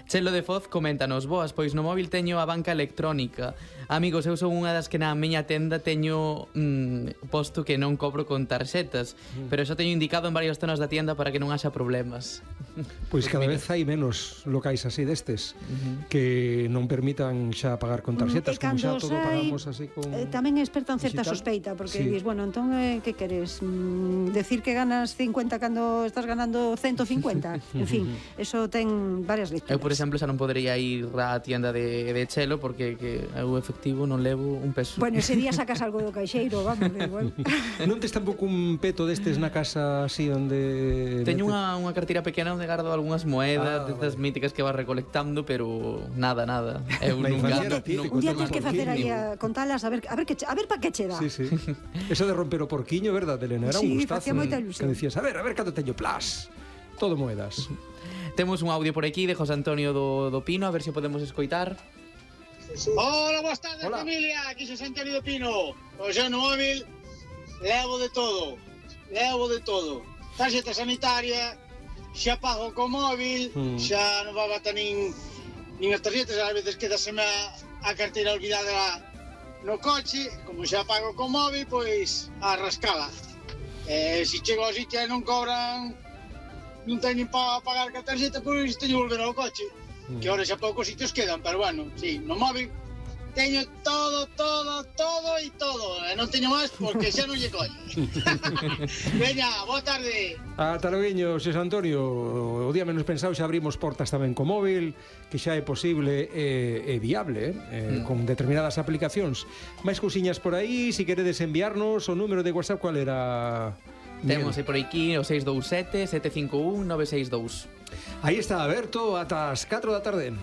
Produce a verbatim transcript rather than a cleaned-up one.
Chelo de Foz coméntanos: boas, pois no móvil teño a banca electrónica. Amigos, eu son unha das que na miña tenda teño mm, posto que non cobro con tarxetas, mm. pero xa teño indicado en varias zonas da tienda para que non haxa problemas. Pois cada vez hai menos locais así destes uh-huh. que non permitan xa pagar con tarxetas, mm, como xa todo sai, pagamos así con... Eh, tamén espertan certa sospeita, porque sí. dis, bueno, entón, eh, que queres? Mm, decir que ganas cincuenta cando estás ganando ciento cincuenta? En fin, eso ten varias lecturas. Eu, por exemplo, xa non podería ir á tienda de, de Chelo porque que eu efectivo non levo un peso. Bueno, ese día sacas algo do caixeiro, vamos, de igual. Non tes tampouco un peto destes na casa así onde... Teño unha, unha cartera pequena onde gardo algunhas moedas, ah, destas vale. míticas que vas recolectando, pero nada, nada. Eu nunca, un día tens que facer aí a contalas a ver a ver que a ver para que che dá. Sí, sí. Eso de romper o porquiño, verdade, Elena? Era sí, un gustazo. Sí, facía moita ilusión. Que decías, a ver, a ver cando teño plas. Todo moedas. Temos un audio por aquí de José Antonio do, do Pino, a ver se podemos escoitar. Hola, boas tardes, Hola. familia, aquí José Antonio do Pino. Pois eu no móvil levo de todo, levo de todo. Tarxeta sanitaria, xa pago co móvil, mm. xa non va bata nin, nin as tarxetas, ás veces quedaseme a, a carteira olvidada no coche, como xa pago co móvil, pois a rascala. Eh, se chego ao sitio e non cobran, non teñen para pagar ca tarxeta, pois teño que volver ao coche. Mm. Que ahora xa poucos sitios quedan, pero bueno, sí, no móvil teño todo, todo, todo e todo. E non teño máis porque xa non lle colle. Veña, boa tarde. Ata loguiño, Xosé Antonio. O día menos pensado xa abrimos portas tamén co móvil, que xa é posible e, e viable, eh, mm. con determinadas aplicacións. Mais cousiñas por aí, se queredes enviarnos o número de WhatsApp, cual era... Temos aí por aquí o seis dous sete, sete cinco un, nove seis dous. Aí está aberto ata as catro da tarde.